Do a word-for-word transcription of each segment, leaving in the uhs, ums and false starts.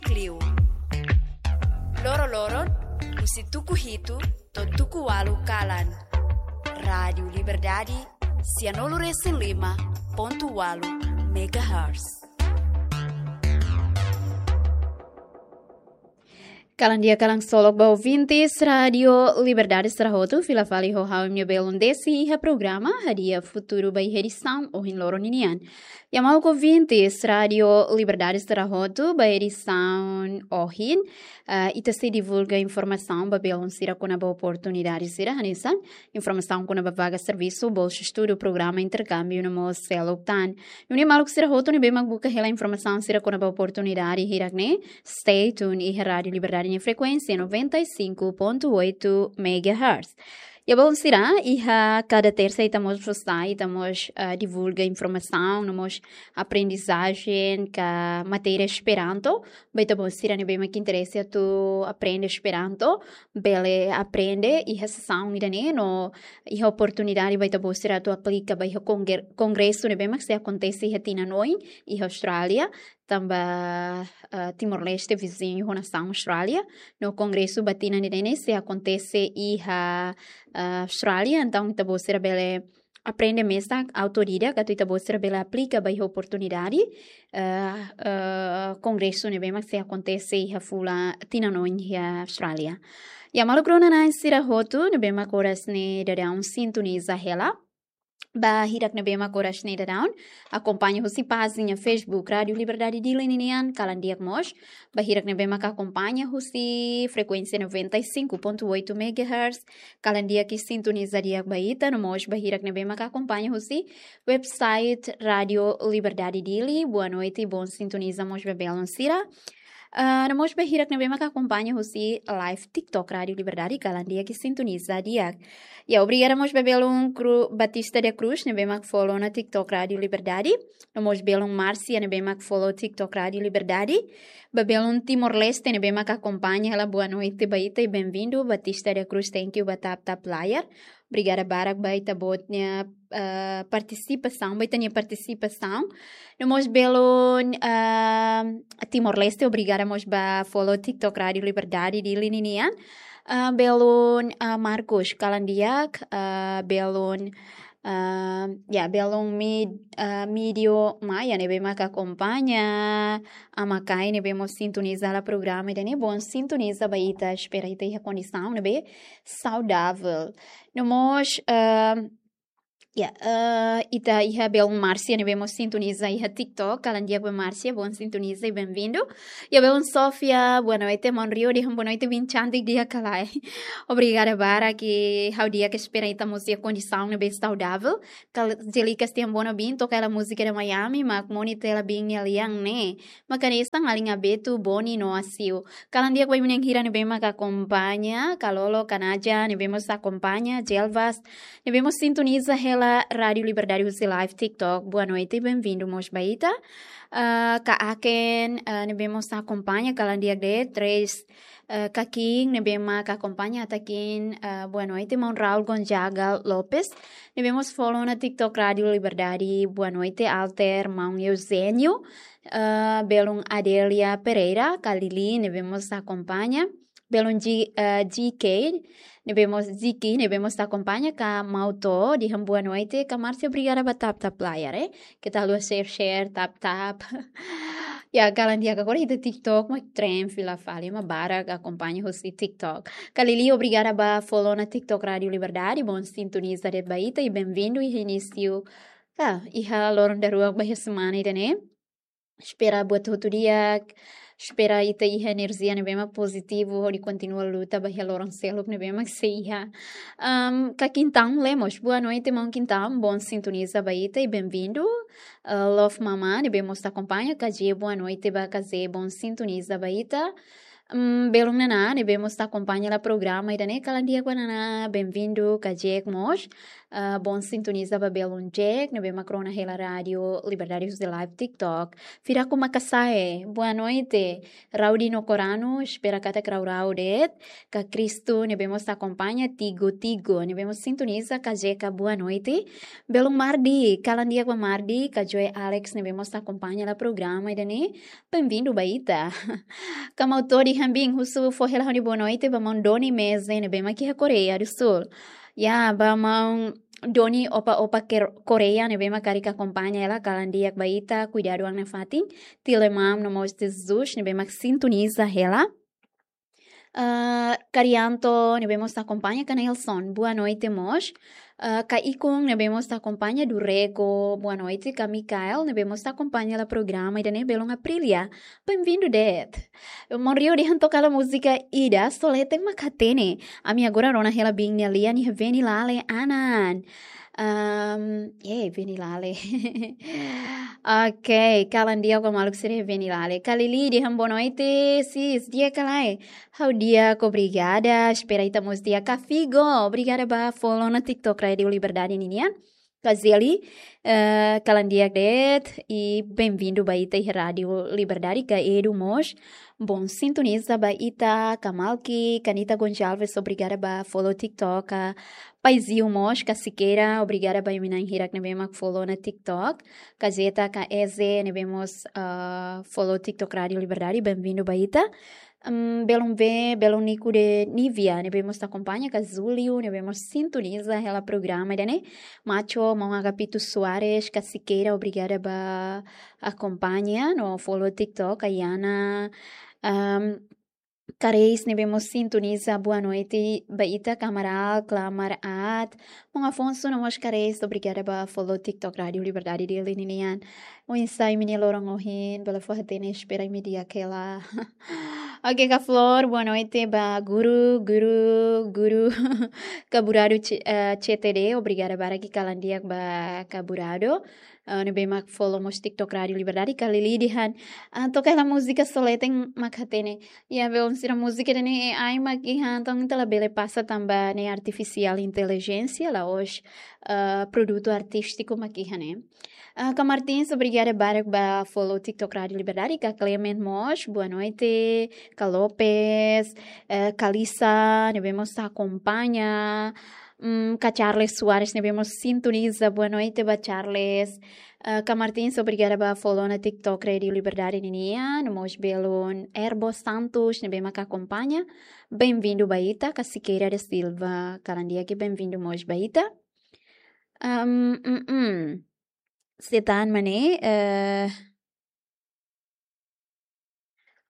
Kliu. Loro-loron, husi tuku hitu to'o tuku ualu kalan. Rádiu Liberdade, sianulu-resin-lima pontu ualu megahertz. Kalan di'ak, kalan ksolok ba ouvintes Rádiu Liberdade sira hotu, fila fali ho ha'u, imi-nia belun Desi, iha programa Hadi'a Futuru ba iha edisaun ohin loron ninian. Maluk ouvintes Rádiu Liberdade sira hotu, ba edisaun ohin, ah, ita sei divulga informasaun ba belun sira kona-ba oportunidade sira hanesan informasaun kona-ba vaga servisu, bolsa estudu, programa interkámbiu no mós seluk tan. Nune'e maluk sira hotu ne'ebé mak buka hela informasaun sira kona-ba oportunidade hirak-ne'e, stay tuned iha Rádiu Liberdade nia frekuénsia noventa e cinco ponto oito megahertz. Ya, belun sira, iha kada tersa ita mós fó sai, ita mós, ah, divulga informasaun, no mós aprendizajen ka matéria Esperanto, ba ita-boot sira ne'ebé mak interese atu aprende Esperanto, bele aprende iha sesaun ida-ne'e no iha oportunidade ba ita-boot sira atu aplika ba iha kongre-, kongresu ne'ebé mak sei akontese iha tinan oin iha Austrália, tanba, ah, Timor-Leste viziñu ho nasaun Austrália, no kongresu ba tinan ida-ne'e sei akontese iha, ah, Austrália, entaun ita-boot sira bele aprende mesak autodidata, atu ita-boot sira bele aplika ba iha oportunidade, eh, eh, kongresu ne'ebé mak sei akontese iha fulan tinan oin iha Austrália. Ya, maluk rona-na'in sira hotu ne'ebé mak oras ne'e daudaun sintoniza hela. Ba hirak ne'ebé mak oras ne'e daudaun akompaña husi pájina Facebook Rádiu Liberdade Dili ninian, kalan di'ak mós. Ba hirak ne'ebé mak akompaña husi frekuénsia noventa e cinco ponto oito megahertz, kalan di'ak i sintoniza di'ak ba ita, no mós ba hirak ne'ebé mak akompaña husi website Rádiu Liberdade Dili, boa noite, bom sintoniza mós ba belun sira. Ah, no mós ba hirak ne'ebé mak akompaña husi live TikTok Rádiu Liberdade, kalan di'ak i sintoniza di'ak. Ya, obrigada mós ba belun Cru-, Batista da Cruz, ne'ebé mak follow ona TikTok Rádiu Liberdade. No mós belun Márcia, ne'ebé mak follow TikTok Rádiu Liberdade. Ba belun Timor-Leste ne'ebé mak akompaña hela, boa noite ba ita i bem-vindo. Batista da Cruz, thank you ba tap tap layar. Obrigada barak ba ita-boot nia, eh, partisipasaun, ba ita-nia partisipasaun. No mós belun, eh, Timor-Leste, obrigada mós ba follow TikTok Rádiu Liberdade Dili ninian. Eh, belun, eh, Marcos, kalan di'ak, eh, belun, eh, ya, belun Mid-, eh, Midio Maia ne'ebé mak akompaña, Ama Kai ne'ebé mós sintoniza hela programa ida-ne'e, bom sintoniza ba ita, espera ita iha kondisaun ne'ebé saudável. No mós, ah, ya, ah, ita iha belun Márcia ne'ebé mós sintoniza iha TikTok, kalan di'ak ba Márcia, bom sintoniza i bem-vindo. Ya, belun Sofia, boa noite, maun Rio, dehan boa noite, bin cantik di'ak ka lae. Obrigada barak, ha'u di'ak, espera ita mós iha kondisaun ne'ebé saudável. Kal-, Angélica, dehan boa noite, bin toka hela múzika de Miami, mak moni tela bin nia lian ne'e. Mak hanesan alin Abetu, Boni no Asiu. Kalan di'ak ba imi-nia hira ne'ebé mak akompaña, Kalolo, Kanaja, ne'ebé mós akompaña, Jelvas, ne'ebé mós sintoniza hela Rádiu Liberdade husi live TikTok. Boa noite, bem-vindo mós ba ita. Ah, Ka Aken, ah, ne'ebé mós akompaña, kalan di'ak de'it, Tres, eh, Kakin, ne'ebé mak akompaña, Takin, eh, boa noite, maun Raul Gonzaga Lopes, ne'ebé mós follow ona TikTok Rádiu Liberdade, boa noite, Alter, maun Eugênio, eh, belun Adélia Pereira, Kalili, ne'ebé mós akompaña, belun G-, eh, G K, ne'ebé mós Ziki, ne'ebé mós akompaña, Ka Mauto, dehan boa noite, Ka Márcia, obrigada ba tap tap layar, eh. Keta haluha share, share, tap tap. Ya, kalan di'ak, agora ita TikTok mak trend fila fali, ema barak akompaña husi TikTok. Kalili, obrigada ba follow ona TikTok Rádiu Liberdade, bom sintoniza de'it ba ita i bem-vindo iha inísiu, ah, iha loron daruak ba iha semana ida-ne'e. Espera buat hotu di'ak, espera ita iha enerjia ne'ebé mak pozitivu, hodi kontinua luta ba iha loron seluk ne'ebé mak sei iha. Am, Ka Kintan Lemos, boa noite, maun Kintan, bom sintoniza ba ita i bem-vindo. Ah, Love Mama, ne'ebé mós akompaña, Kaje, boa noite ba Kaje, bom sintoniza ba ita. Am, belun Nana, ne'ebé mós akompaña hela programa ida-ne'e, kalan di'ak ba Nana, bem-vindo, Kaje mós. Ah, bom sintoniza ba belun Jack, ne'ebé mak rona hela Rádiu Liberdade husi live TikTok. Firaku Makasae, boa noite. Raudi no Koranu, espera katak rau-rau de'it. Ka Kristu, ne'ebé mós akompaña, Tigo, Tigo, ne'ebé mós sintoniza, ka Jeka, boa noite. Belun Mardi, kalan di'ak ba Mardi, ka Joy Alex, ne'ebé mós akompaña hela programa ida-ne'e, bem-vindu ba ita. Ka Maun Todi Hambin, husu fó hela ha'u-nia boa noite ba Maun Doni Meze, ne'ebé mak iha Koreia do Sul. Ya, ba Maun Doni Opa Opa Ker-, Koreia, ne'ebé mak karik akompaña hela, kalan di'ak ba ita, kuidadu an nafatin, Tile Mam, no mós Jesus, ne'ebé mak sintoniza hela. Ah, Karianto, ne'ebé mós akompaña, ka Nelson, boa noite mós. Ah, ka Ikun, ne'ebé mós akompaña, Durego, boa noite, ka Mikael, ne'ebé mós akompaña hela programa ida-ne'e, belun Aprilia. Bem-vindu de'it. Maun Rio dehan toka hela múzika ida, só leten mak hatene. Ami agora rona hela biin nia lian iha Venilale, Anan. Ahm, eh, Venilale. Ok, kalan di'ak ba maluk sira iha Venilale. Ka Lili dehan boa noite, sis, di'ak ka lae? Ha'u di'ak, obrigada. Espera ita mós di'ak. Ka Figo, obrigada ba follow ona TikTok Rádiu Liberdade ninian. Ka Zeli, eh, kalan di'ak de'it, i bem-vindu ba ita iha Rádiu Liberdade, ka Edu mós. Bom sintoniza ba ita, ka Malki, ka Nita Gonçalves, obrigada ba follow TikTok, ka Paiziu mós, ka Siqueira, obrigada ba imi na'in hirak ne'ebé mak follow ona TikTok, ka Zeta, ka Eze, ne'ebé mós, ah, follow TikTok Rádiu Liberdade, bem-vindu ba ita. Hum, belun B, belun Nico de Nívia, ne'ebé mós akompaña, ka Julio, ne'ebé mós sintoniza hela programa ida-ne'e. Macho, Maun Agapito Soares, ka Siqueira, obrigada ba akompaña no follow TikTok, ka Yana, ahm, ka Reis, ne'ebé mós sintoniza, boa noite ba ita, ka Amaral, Clamar, At, Maun Afonso, no mós ka Reis, obrigada ba follow TikTok Rádiu Liberdade Dili ninian. Oinsá imi-nia loron ohin, bele fó hatene, espera imi di'ak hela. Ok, ka Flor, boa noite ba guru, guru, guru. Ka Burado C-, eh, C T D, obrigada barak, kalan di'ak ba ka Burado. Eh, ne'ebé mak follow mós TikTok Rádiu Liberdade, ka Lili dehan, ah, toka hela múzika só leten mak hatene. Ya, belun sira, múzika ida-ne'e A I mak iha, entaun ita labele pasa tanba ne'e artifisiál intelijénsia, la'ós, eh, produtu artístiku mak iha ne'e. Ah, ka Martins, obrigada barak ba follow TikTok Rádiu Liberdade, ka Clement mós, boa noite, ka Lopes, eh, ka Lisa, ne'ebé mós akompaña, hum, ka Charles Soares, ne'ebé mós sintoniza, boa noite ba Charles, eh, ka Martins, obrigada ba follow ona TikTok Rádiu Liberdade ninian, no mós belun Erbo Santos, ne'ebé mak akompaña, bem-vindu ba ita, ka Siqueira da Silva, kalan di'ak, bem-vindu mós ba ita. Ahm, mm, mm. Setan mane, eh,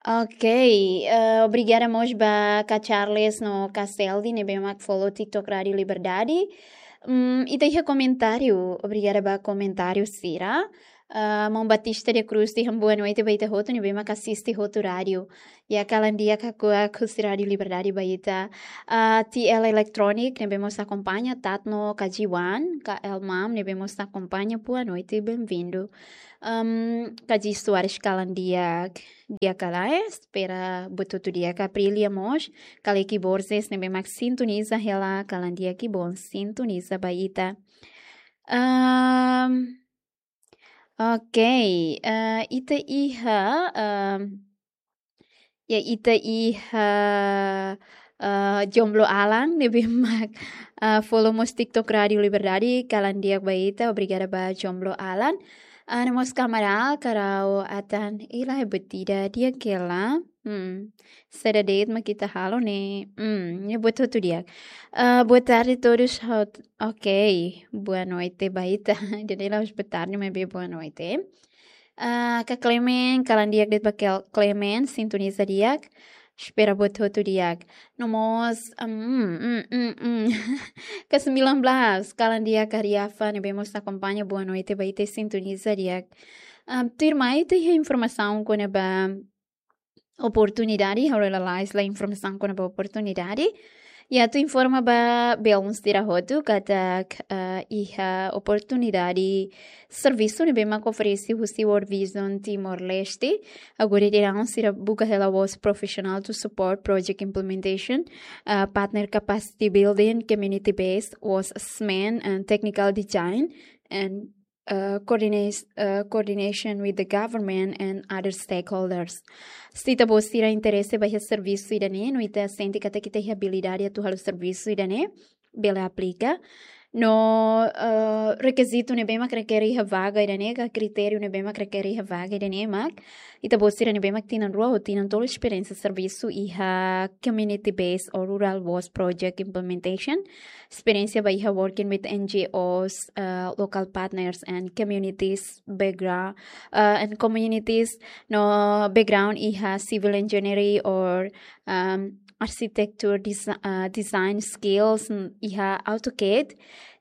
ok, eh, obrigada mós ba ka Charles no ka Selvi, ne'ebé mak follow TikTok Rádiu Liberdade. Mm, ita iha komentáriu, obrigada ba komentáriu sira. Ah, Maun Batista de Cruz dehan boa noite ba ita hotu, ne'ebé mak asiste hotu rádiu. Ya, kalan di'ak, kakuak husi Rádiu Liberdade ba ita. Ah, T L Electronic, ne'ebé mós akompaña, Tatno, ka Jiwan, ka Elmam, ne'ebé mós akompaña, boa noite, bem-vindu. Ahm, ka Ji Soares, kalan di'ak, di'ak ka lae, espera buat hotu di'ak, ka Aprilia mós, ka Leki Borges, ne'ebé mak sintoniza hela, kalan di'ak, bom sintoniza ba ita. Ahm, ok, eh, ita iha, ahm, ya, ita iha, eh, Jomblo Alan, ne'ebé mak, eh, follow mós TikTok Rádiu Liberdade, kalan di'ak ba ita, obrigada ba Jomblo Alan. Ah, no mós ka Amaral, ka Rau, Atan, ila é batida, di'ak hela. Hmm. Saida de'it mak ita halo ne'e. Hmm, ne'e buat hotu di'ak. Ah, boa tarde todos. Hot-, ok, boa noite ba ita. Jadi la'ós boa tarde, maibé boa noite. Ah, ka Clement, kalan di'ak de'it ba Kel-, Clement, sintoniza di'ak. Espera buat hotu di'ak. No mós, mm, mm, mm, mm. Ka sembilan belas, kalan di'ak ka Riafa, ne'ebé mós akompaña, boa noite ba ita, sintoniza di'ak. Ah, tuirmai ita iha informasaun kona-ba oportunidade, ha'u lalais la informasaun kona-ba oportunidade. Ya, atu informa ba belun sira hotu katak, ah, iha oportunidade servisu ne'ebé mak oferese husi World Vision Timor-Leste. Agora daudaun sira buka hela WOS professional to support project implementation, ah, partner capacity building, community based WOS assessment and technical design, and, ah, coordinate, ah, coordination with the government and other stakeholders. Se ita-boot sira interese ba iha servisu ida-ne'e, no ita sente katak ita iha abilidade atu halo servisu ida-ne'e, bele aplika. No, ah, rekizitu ne'ebé mak rekere iha vaga ida-ne'e, ka kritériu ne'ebé mak rekere iha vaga ida-ne'e mak, ita-boot sira ne'ebé mak tinan rua ou tinan tolu esperiénsia servisu iha community based or rural WOS project implementation, esperiénsia ba iha working with N G Os, ah, local partners and communities background, ah, and communities no background iha civil engineering or, um, architecture desi-, ah, design skills, mm, iha AutoCAD,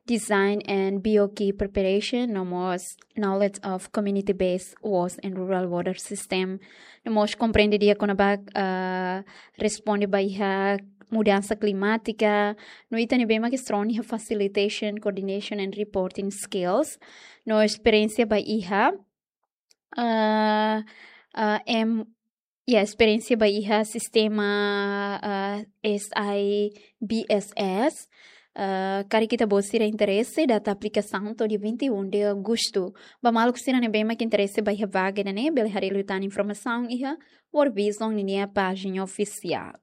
design and B O Q preparation, no mós knowledge of community-based WOS and rural water system. No mós komprende di'ak kona-ba, ah, responde ba iha mudansa klimátika, no ita ne'ebé mak strong iha facilitation, coordination and reporting skills. No esperiénsia ba iha, ah, ah, em, ya, esperiénsia ba iha sistema, ah, S I B S S. Ah, karik ita-boot sira interese, data aplikasaun to'o dia vinte e um de agosto. Ba maluk sira ne'ebé mak interese ba iha vaga ida-ne'e, bele haree liután informasaun iha World Vision ninia pájina ofisiál.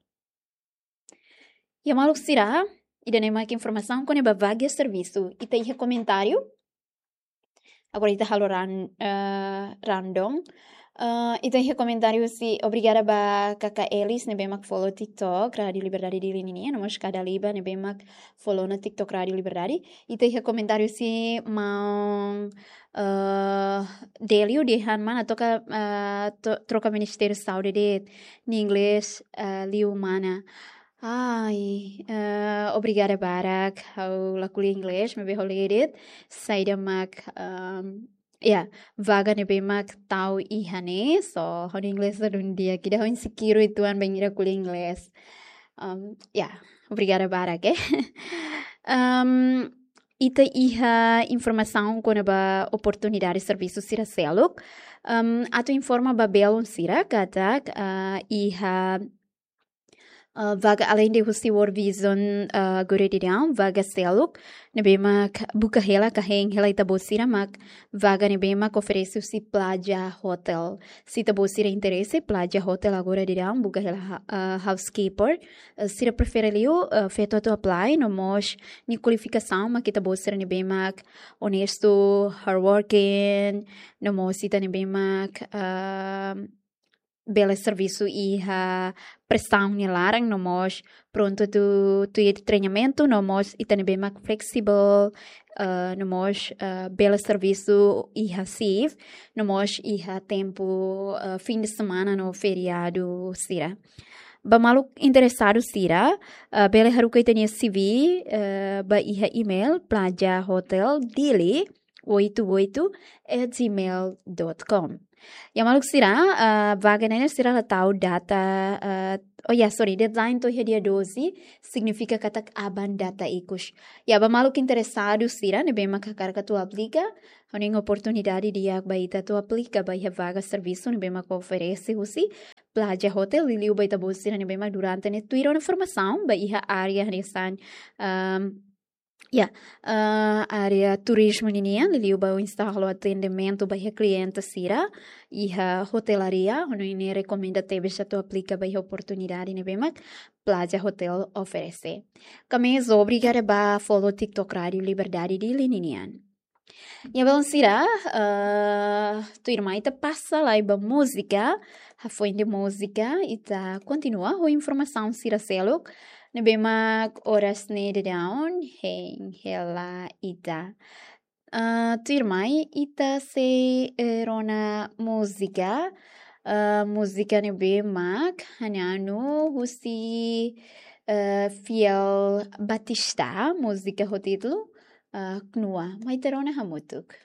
Ya maluk sira, ida-ne'e mak informasaun kona-ba vaga servisu. Ita iha komentáriu? Agora ita halo ran-, eh, random. Eh, ita iha komentáriu husi, obrigada ba Kaka Elis ne'ebé mak follow TikTok Rádio Liberdade Dili nian, no mós Kada Liba ne'ebé mak follow ona TikTok Rádio Liberdade. Ita iha komentáriu husi maun, eh, Delio dehan mana toka, eh, to-, troka Ministériu Saúde de'it, nia inglés, eh, liu mana. Ai, eh, obrigada barak, ha'u la ko'alia inglés, maibé ha'u lee de'it, saida mak, ehm, ya, vaga ne'ebé mak tau iha ne'e, so, ha'u-nia inglés la dún di'ak, ida ha'u insekiru uitoan bainhira ko'alia inglés. Ehm, ya, obrigada barak, eh. Ehm, ita iha informasaun kona-ba oportunidade servisu sira seluk. Ehm, atu informa ba belun sira katak, ah, iha, ah, vaga além de husi World Vision, ah, agora daudaun, vaga seluk ne'ebé mak buka hela ka hein hela ita-boot sira mak vaga ne'ebé mak oferese husi Plaza Hotel. Se ita-boot sira interese, Plaza Hotel agora daudaun buka hela ha-, ah, housekeeper. Eh, sira prefere liu, eh, feto atu apply, no mós nia kualifikasaun mak ita-boot sira ne'ebé mak onestu, hardworking, no mós ita ne'ebé mak, ah, bele servisu iha presaun nia laran, no mós prontu atu, atu iha treinamentu, no mós ita ne'ebé mak flexible, eh, no mós, eh, bele servisu iha shift, no mós iha tempu, eh, fim de semana no feriadu sira. Ba maluk interesadu sira, eh, bele haruka ita-nia C V, eh, ba iha email plaza hotel dili oito oito at gmail dot com. Ya maluk sira, eh, vaga ne'e sira la tau data, eh, oh ya, sorry, deadline to'o iha dia doze, signifika katak aban data ikus. Ya, ba maluk interesadu sira ne'ebé mak hakarak atu aplika, ha'u-nia oportunidade di'ak ba ita atu aplika ba iha vaga servisu ne'ebé mak oferese husi Plaza Hotel, liuliu ba ita-boot sira ne'ebé mak durante ne'e tuir ona formasaun ba iha área hanesan, ehm, ya, eh, área turizmu ninian, liuliu ba oinsá halo atendimentu ba iha kliente sira, iha hotelaria, ha'u-nia rekomenda tebes atu aplika ba iha oportunidade ne'ebé mak Plaza Hotel oferese. Kami obrigada ba follow TikTok Rádio Liberdade Dili ninian. Ya belun sira, eh, tuirmai ita pasa lai ba múzika, hafoin de múzika, ita kontinua ho informasaun sira seluk ne'ebé mak oras ne'e daudaun hein hela ita. Eh, tuirmai ita sei, eh, rona múzika, eh, múzika ne'ebé mak hananu husi, eh, Fiel Batista, múzika ho títulu, eh, Knua. Mai ita rona hamutuk.